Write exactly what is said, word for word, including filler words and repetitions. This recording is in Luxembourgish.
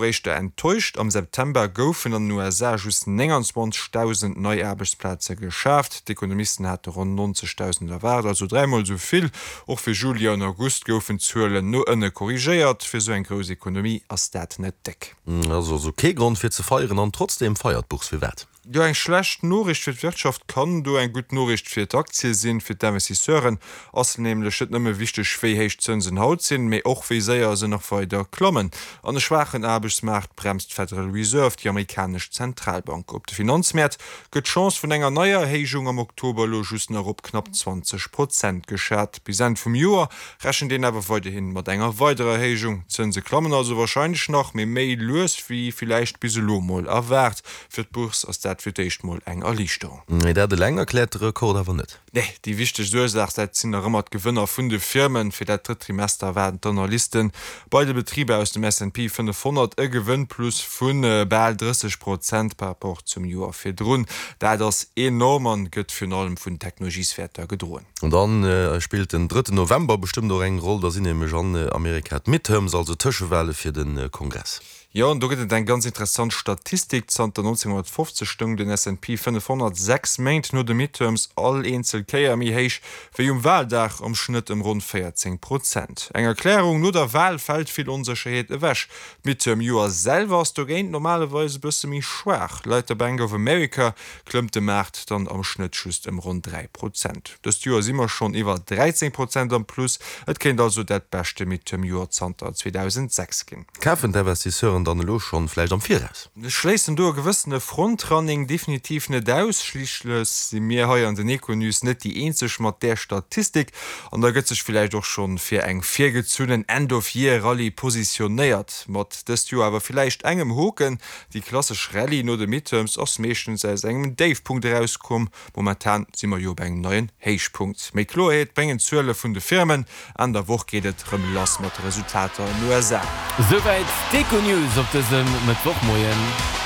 Éischter enttäuscht, Am September goufen an den U S A just nénganzwanzegdausend nei Aarbechtsplaze geschaaft. D'Ekonomisten hate ronn nonzegdausend erwaart, also dräimol esou vill. Och fir Juli an August goufen d'Zuelen no ënne korrigéiert. Fir esou eng grouss Ekonomie ass dat net déck. Also also kee Grond fir ze feieren an trotzdeem feiert d'Bourse. Firwat? Jo, eng schlecht Noriicht fir d'Wirtschaft kann do eng gutt Noriicht fir d'Aktie sinn. Fir d'Investisseuren ass nämlech net nëmme wichteg, wéi héich d'Zënsen haut sinn, mee och wéi séier se nach weider klammen. An e schwaachen Aarbechtsmaart bremst d'Federal Reserve, déi amerikanesch Zentralbank. Op de Finanzmäert gëtt d'Chance vun enger neier Erhéijung am Oktober elo just nach op knapp zwanzeg Prozent geschat. Bis Enn vum Joer rechent een awer weiderhi mat enger weiderer Erhéijung. D'Zënse klammen also warscheinlech nach, mee méi lues wéi villäicht bis elo mol erwaart. Fir d'Bourse ass dat fir d'éischt mol eng Erliichterung. Mee dat eleng erkläert de Rekord awer net. Nee, déi wichtegst Ursaach, dat sinn nach ëmmer d'Gewënner vun de Firmen. Fir dat drëtt Trimester erwaarden d'Analysten bei de Betriber aus dem S and P fënnefhonnert e Gewënnplus vu bal drësseg Prozent par rapport zum Joer virdrun. Dat ass enorm an gëtt virun allem vun Technologieswäerter gedroen. An dann spillt den drëtten November bestëmmt och eng Roll, da sinn nämlech an Amerika d'Midterms, also Tëschewale fir de Kongress. Jo, an do gëtt et eng ganz interessant Statistik, Zanter nonzénghonnertfofzeg stoung den S and P fënnefhonnert sechs Méint no de Midterms all eenzel Kéier méi héich wéi um Waldag, am Schnëtt ëm ronn véierzéng Prozent. Eng Erklärung, No der Wal fält vill Onsécherheet ewech. D'Midterm-Joer selwer ass dogéint normalerweis e bësse méi schwaach. Laut der Bank of America klëmmt de Maart dann am Schnëtt just ëm ronn dräi Prozent. Dëst Joer si mer schonn iwwer dräizéng Prozent am Plus. Et kéint also dat beschte Midterm-Joer zanter zweedausendsechs ginn. Kafen d'Investisseuren dann elo schonn vläicht am Viraus? Ech schléissen do e gewëssene Frontrunning definitiv net aus. Schliisslech si mir hei an den Econews net déi eenzeg mat där Statistik an da gëtt sech villäicht och schonn fir eng virgezunnen End-of-Year-Rallye positionéiert. Mat dëst Joer awer villäicht engem Hoken, Déi klassesch Rallye no de Midterms ass meeschtens aus engem Déifpunkt erauskomm. Momentan si mer jo op engem neien Héichpunkt. Méi Kloerheet bréngen d'Zuele vun de Firmen. Enn der Woch geet et rëm lass mat de Resultater an den U S A. Souwäit d'Econews op dësem Mëttwochmoien.